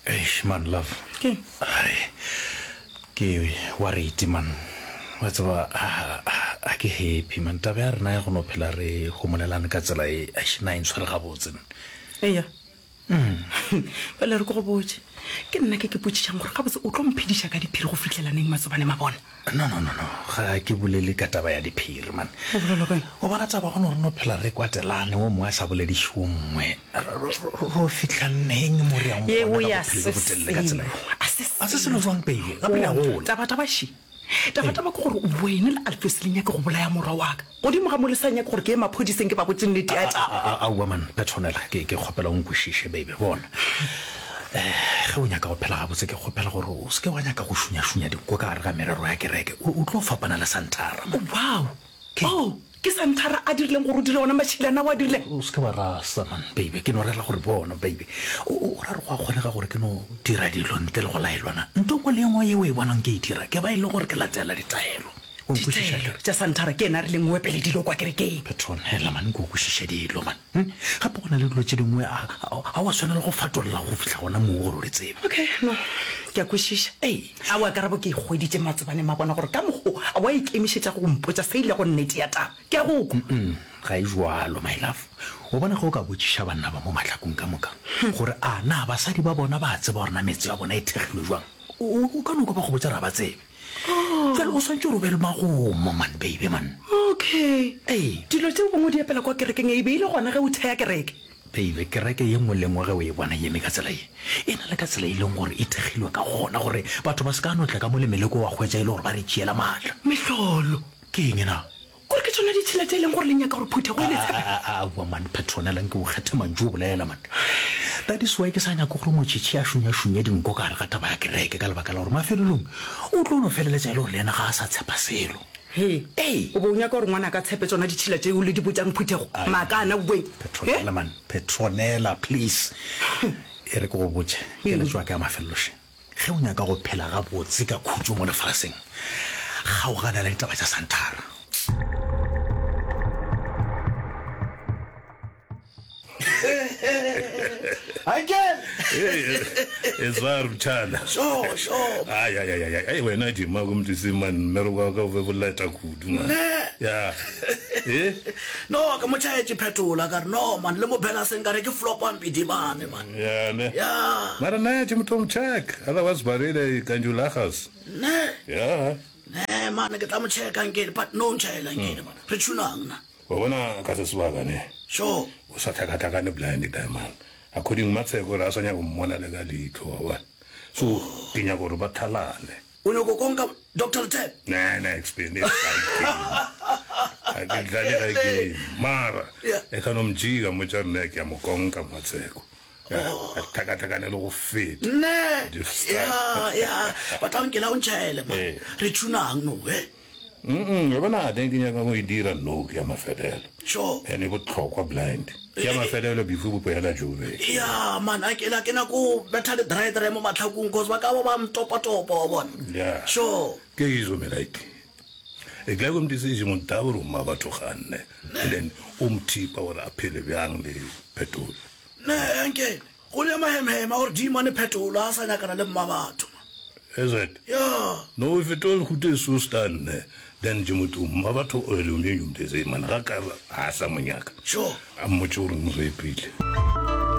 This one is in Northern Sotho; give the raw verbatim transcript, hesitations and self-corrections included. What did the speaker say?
Eish man love. Ke? Ai, ke worried man. Wa tseba a ke happy man. Taba ya rena ya go no phela re homolelane ka tsela e, eish na e ntshwere gabotse. Eya. Bjale re ke go botše. Ke nna ke ke potšišang gore gabotse o tlo mphediša ka diphiri go fihlela neng Matsobane Mabona? No, no, no, no, ga ke bolele ka taba ya diphiri, man. O bolela ka eng? O bona taba go no re no phela re kwatelane, wo mongwe a sa bolediše wo mongwe. Ro fihla neng mo re yang Yeo gona ka ya bophelo se bjo botelele ka tsela selo. ye? A se A se selo. selo jwang, baby? Gape re a Bona, gola. taba-taba še. Taba-taba ke gore wena le Alfios le nyake go bolaya morwa wa ka. Godimo ga mo le sa nyake gore ke ye maphodiseng ke ba botše nnete ya taba. Aowa man, Petronella, ke, ke kgopela o nkwešiše, baby. Bona, eh, ge o nyaka go phela gabotse, ke kgopela gore o se ke wa nyaka go šunyašunya dinko ka gare ga merero ya kereke. O, o tlo fapana le Santhara, man. Wow! Oh, ke Santhara a dirileng gore o dire ona mašilana ao a dirileng? O se ke wa rasa, man, baby. Ke no rera gore bona, baby, o, o ra re go a kgonega gore ke no dira dilo ntle le go laelwa na? Nto nngwe le ye nngwe ye o e bonang ke e dira, ke ba e le gore ke latela ditaelo. O nkwešiša Ditaelo akere? tša Santhara ke yena a rileng o epele dilo kwa kerekeng. Petronella, man, nke o kwešiše dilo, man. Hm? Gape go na le dilo tše dingwe a, a, a wa swanela go fatolla go fihla gona moo gore o di tsebe. Okay, no, ke a kwešiša. Ei. Aowa, karabo ke e hweditše Matsobane Mabona gore ka mokgo a wa ikemišetša go mpotša se e lego nnete ya taba. Ke a go kwa. Mm, ga e bjalo, my love. O bona ge o ka botšiša banna ba mo mahlakong ka moka gore a na basadi ba bona ba a tseba gore na metse ya bona e thekgilwe bjang, o, o, o ka no kwa ba go botša gore ga ba tsebe. Bjale o swanetše gore o be le magomo, man, baby, man. Okay. Ee. Dilo tšeo gongwe di epela kwa kerekeng e be e le gona ge o thea kereke. Baby, kereke ye nngwe le nngwe ge o e bona e eme ka tsela ye, e na le ka tsela e leng gore e thekgilwe ka gona gore batho ba se ka no tla ka mo le meleko wa hwetša e le gore ba re tšeela maatla. Mehlolo. Ke eng na? Kore ke tšona ditšhila tše e leng gore le nyaka gore phuthego e le tshepe? Aowa man, Petronella, nke o kgethe mantšu o bolela man. That is why ke sa nyake gore Motšhitšhi a šunyašunye dinko ka gare ga taba ya kereke ka lebaka la gore mafelelong o tlo no feleletša e le gore le yena ga a sa tshepa selo. Hee, Ee. o be o nyaka gore ngwana a ka tshepe tšona ditšhila tšeo le di botšang phuthego? Maaka ana boeng. He? Petronella man, Petronella, please. E re ke go botše, keletšo ya ka ya mafelelo še. Ge o nyaka go phela gabotse ka khutšo mo lefaseng, kgaogana le ditaba tša Santhara. Uncle! Etswa re mtšhana. Sure, sure. Ai ai ai ai ai wena dima go mtse man mmereko wa ka o be boleta kudu man. Ne. Ya. Eh? No, ke mo tšhaetše phetola ka re no man le mo Belaseng ka re ke flop ampidibane man. Ya ne. Ya. Mara nna ke motho check. Otherwise barele kanjulagas. Ne. Ya. Ne man ke tla mo checka nkele but no ntšhaela nkele man. Re tshunang na. Wa bona ka se sebaka ne. Sure. O sa tlhakatlhakane blind diamond. According Matsheko re a sa nyaka go mmona le ka leitlho wa bona. So ke nyaka gore ba thalane. O nyako konka Doctor Lethebe? Ne ne explain it ga ke dlale ga game. Mara Yeah. e ka no mjika mo tša nne ke a mo konka Matsheko. A tlhakatlhakane le go feta. Ne. Just- Ya ya. Ba tla nkela o ntšhaele man. Eh. Re tshunang no he. Mm, wa bona teng ke nyaka go e dira no ke ya mafelelo. Sure. Ene e botlhokwa blind. Ke ya mafelelo before bo boela Joburg. Ya man a ke la ke nako betha le dry dry mo matlhakong cause ba ka ba ba mtopa topa wa bona. Yeah. Sure. Ke izo me like. E tla go mtse mo dabro ma batho ganne. And then o mthipa gore a phele bjang le Phetolo. Ne uncle. Go le mahemhema gore dimane Phetolo a sa nyakana le mma batho. Is it? Ya. No if it all go so stand then je motho mma batho o le o mengwe mtse man ga ka a sa monyaka. Sure. A mmotse gore mo repile.